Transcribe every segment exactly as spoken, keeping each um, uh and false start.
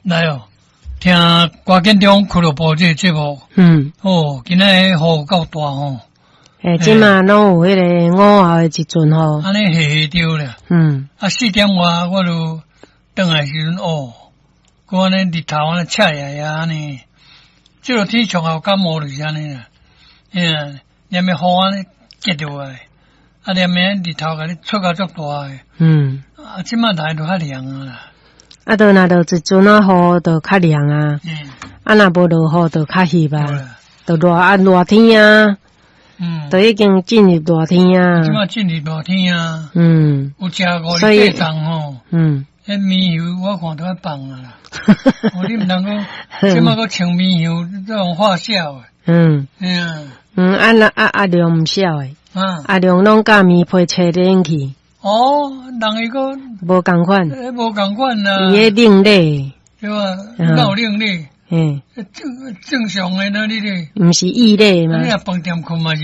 來哦，聽歌建中俱樂部這個節目，嗯，哦，今仔日雨夠大吼，欸，這馬攏有彼個午後的一陣雨，按呢下下著啦。嗯，啊，四點外我就轉來時陣，哦，閣按呢日頭按呢赤炎炎按呢，這個天上後感冒就是按呢啦，嗯，連暝雨按呢結落來，啊，連暝日頭共你出甲足大的，嗯，啊，這馬來就較涼啊啦。啊，就若落一陣仔雨就較涼啊，嗯，啊，若無落雨就較翕啊，對啦，就熱啊熱天啊，嗯，就已經進入熱天啊。這馬進入熱天啊，嗯，有食五所以日八粽吼，嗯，彼棉油我看都愛放啊啦。哦，你毋通講，這馬閣穿棉油，這種發燒的。嗯，嗯，嗯，啊那啊阿良毋痟的，啊，阿良攏佮棉被吹冷氣。哦，人伊閣無仝款，欸無仝款啦。伊彼另類，對吧？哪有另類？嗯，正正常的呢，你咧，毋是異類嗎？你若飯店睏嘛是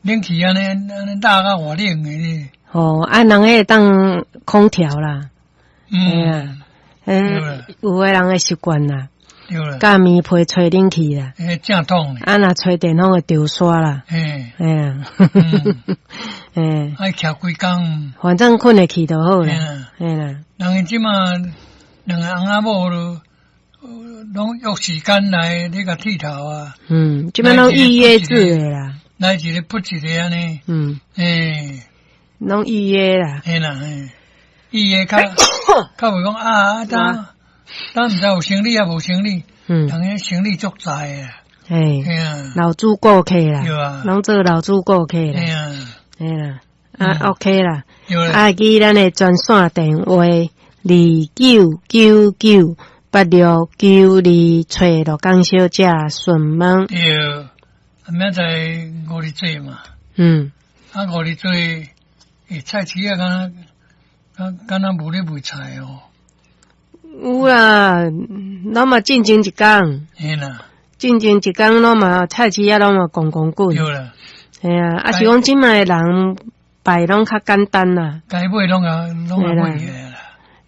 冷氣按呢按呢熱甲偌冷的咧。哦，啊，人彼會當空調啦，嗯，啊，欸，有的人的習慣啦，對啦，佮棉被吹冷氣啦，欸，正統的，啊，若吹電風會著沙啦，嘿，嘿啊，欸，愛徛規工，反正睏會去就好啦，嘿啦。人𪜶這馬兩個翁仔某都攏約時間來咧共剃頭啊。嗯，這擺攏預約制的啦。來一个噗一个按呢。嗯。欸。攏預約啦。嘿啦嘿，預約較較袂講啊，當當毋知有生理抑無生理，嗯，人彼生理足在的。嘿，嘿啊，老主顧客啦，對啊，攏做老主顧客啦。嘿啊，嘿啦，啊 OK 啦，對啊，記咱的專線電話二九九九八六九二，揣陸江小姐詢問。對，啊，明仔載五日節嘛。嗯。啊，五日節，欸，菜市仔敢若敢敢若無咧賣菜哦。有啦，攏嘛進前一工。嘿啦。進前一工攏嘛菜市仔攏嘛逛逛滾。對啦。嘿啊，啊是講這馬的人拜攏較簡單啦。該買攏啊攏啊買起來啦。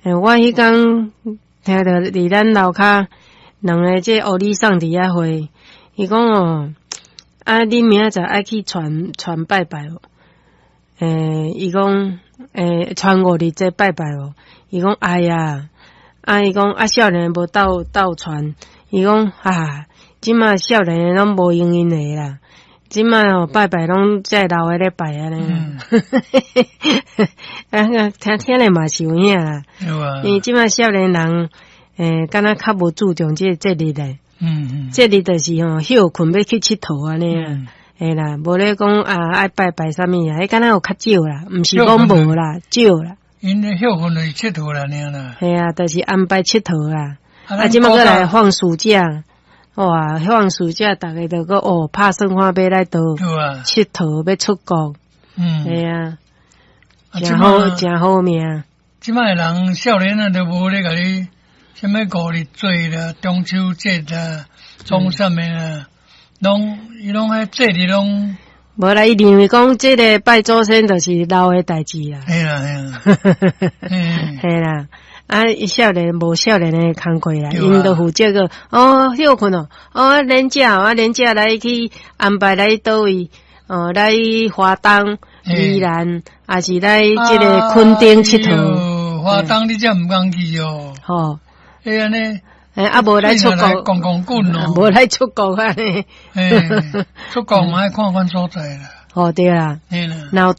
欸，我彼工聽著佇咱樓跤兩个這烏里送佇遐會，伊講哦，啊，你明仔載愛去傳傳拜拜無？欸，伊講，欸，傳五日節拜拜無？伊講哎呀，啊，伊講啊，少年無鬥鬥傳，伊講啊，這馬少年攏無閒𪜶的啦。這馬哦拜拜攏這老的咧拜按呢，啊，聽聽咧嘛是有影啦。因為這馬少年人，欸，敢若較無注重這個節日咧。嗯嗯。節日就是吼歇睏欲去𨑨迌按呢啊，嘿啦，無咧講啊愛拜拜啥物啊，彼敢若有較少啦，毋是講無啦，少啦。𪜶咧歇睏就是𨑨迌啦，爾啦。嘿啊，就是安排𨑨迌啦。啊，這馬閣來放暑假。哇！放暑假，逐家就閣哦，拍算看欲來佗𨑨迌，欲出國。嗯，嘿啊，誠好，誠好命。這擺的人少年啊，都無咧共你啥物五日節啦、中秋節啦、創啥物啦，攏伊攏彼節日攏。無啦，伊認為講這个拜祖先就是老的代誌啦。嘿啦嘿啦，嘿啦。啊，少年無少年的工課啦，𪜶就負責個哦，歇睏哦，哦，連假啊，連假來去安排來佗位，哦，來華東、宜蘭，抑是來這个墾丁𨑨迌。華東你才毋通去哦。吼，欸按呢，欸啊，無來出國，逛逛滾哦，無來出國按呢。欸，出國嘛愛看看所在啦。哦，對啦，嘿啦。若有